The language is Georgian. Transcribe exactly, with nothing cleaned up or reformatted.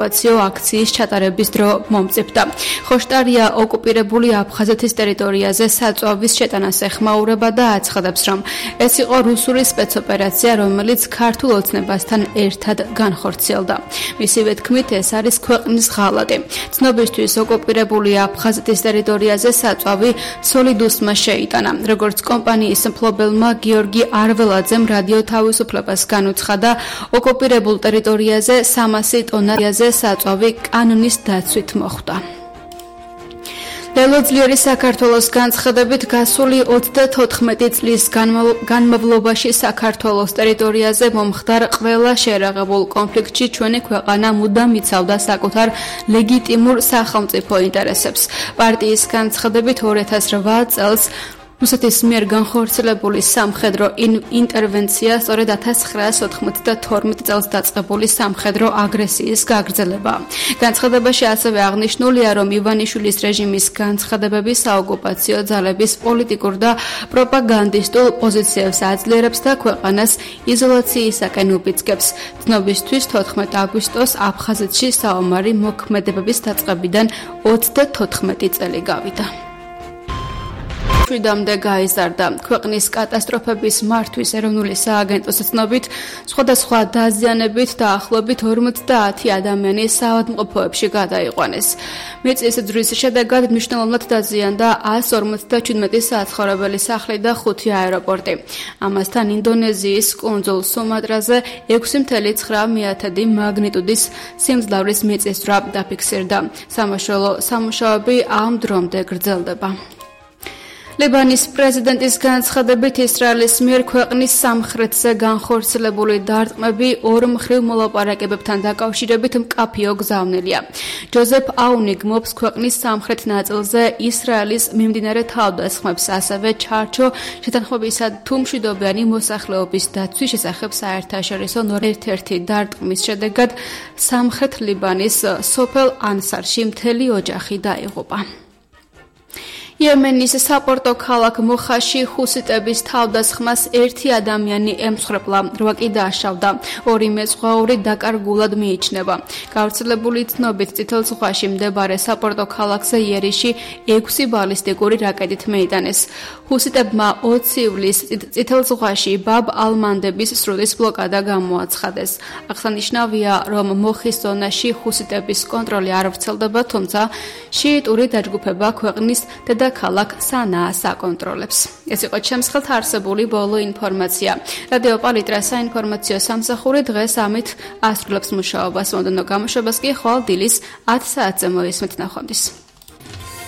ოკუპაციო აქციის ჩატარების დრო მომწიფდა. ხოშტარია ოკუპირებული აფხაზეთის ტერიტორიაზე საწვავის შეტანას ეხმაურება და აცხადებს, რომ ეს იყო რუსული სპეცოპერაცია, რომელიც ქართულ ოცნებასთან ერთად განხორციელდა. მისივე თქმით, ეს არის ქვეყნის ღალატი. ცნობისთვის ოკუპირებული აფხაზეთის ტერიტორიაზე საწვავი სოლიდუსმა შეიტანა. როგორც კომპანიის მფლობელმა გიორგი არველაძემ რადიო თავისუფლებას განუცხადა, ოკუპირებულ ტერიტორიაზე სამასი ტონაზე საწვავი კანონის დაცვით მოხვდა. ლელოძლიერი საქართველოს განცხადებით გასული ოცდათოთხმეტი წლის განმავლობაში საქართველოს ტერიტორიაზე მომხდარ ყველა შეერაღებულ კონფლიქტში ჩვენი ქვეყანა მუდამ იცავდა საკუთარ ლეგიტიმურ სახელმწიფო ინტერესებს. პარტიის განცხადებით ორი ათას რვა წელს რუსეთის მიერ განხორციელებული სამხედრო ინტერვენცია სწორედ ათას ცხრაასი ოთხმოცდათორმეტ წელს დაწყებული სამხედრო აგრესიის გაგრძელება. განცხადებაში ასევე აღნიშნულია, რომ ივანიშვილის რეჟიმის განცხადებები საოკუპაციო ძალების პოლიტიკურ და პროპაგანდისტულ პოზიციებს აძლიერებს და ქვეყანას იზოლაციისაკენ უბიძგებს. ცნობისთვის თოთხმეტი აგვისტოს აფხაზეთში საომარი მოქმედებების დაწყებიდან ოცდათოთხმეტი წელი გავიდა. მშვიდამდე გაიზარდა. ქვეყნის კატასტროფების მართვის ეროვნული სააგენტოს ცნობით, სხვადასხვა დაზიანებით დაახლოებით ორმოცდაათი ადამიანი საავადმყოფოებში გადაიყვანეს. მიწის ძვრის შედეგად მნიშვნელოვნად დაზიანდა ასს ორმოცდაჩვიდმეტი საცხოვრებელი სახლი და ხუთი აეროპორტი. ამასთან ინდონეზიის კუნძულ სუმატრაზე ექვსი მთელი ცხრა მეათედი მაგნიტუდის სიმძლავრის მიწისძვრა დაფიქსირდა. სამაშველო სამუშაოები ამ დრომდე გრძელდება. ლიბანის პრეზიდენტის განცხადებით, ისრაელის მიერ ქვეყნის სამხრეთზე განხორციელებული დარტყმები ორ მხრივ მოლაპარაკებებთან დაკავშირებით მკაფიო გზავნილია. ჯოზეფ აუნი გმობს ქვეყნის სამხრეთ ნაწილზე ისრაელის მიმდინარე თავდასხმებს, ასევე ჩარჩო შეთანხმებისა თუ მშვიდობიანი მოსახლეობის დაცვის შესახებ საერთაშორისო ერთ-ერთი დარტყმის შედეგად სამხრეთ ლიბანის სოფელ ანსარში მთელი ოჯახი დაიღუპა. იემენის საპორტო ქალაქ მოხაში ჰუსიტების თავდასხმას ერთი ადამიანი ემსხვერპლა, რვა კი დააშავდა. ორი მეზღვაური დაკარგულად მიიჩნევა. გავრცელებული ცნობით წითელ ზღვაში მდებარე საპორტო ქალაქზე იერიში ექვსი ბალისტიკური რაკეტით მეიტანეს. ჰუსიტებმა ოცი ივლისს წითელ ზღვაში ბაბ ალ-მანდების სრუტის ბლოკადა გამოაცხადეს. აღსანიშნავია, რომ მოხის ზონაში ჰუსიტების კონტროლი არ ვრცელდება, თუმცა შიიტური დაჯგუფება ქვეყნის დედა ქალაქ სანაას აკონტროლებს. ეს იყო ჩემს ხელთ არსებული ბოლო ინფორმაცია. რადიო პალიტრა საინფორმაციო სამსახური დღეს ამით ასრულებს მუშაობას. მომდევნო გამოშვებას კი ხვალ დილის ათ საათზე მოისმენთ. ნახვამდის.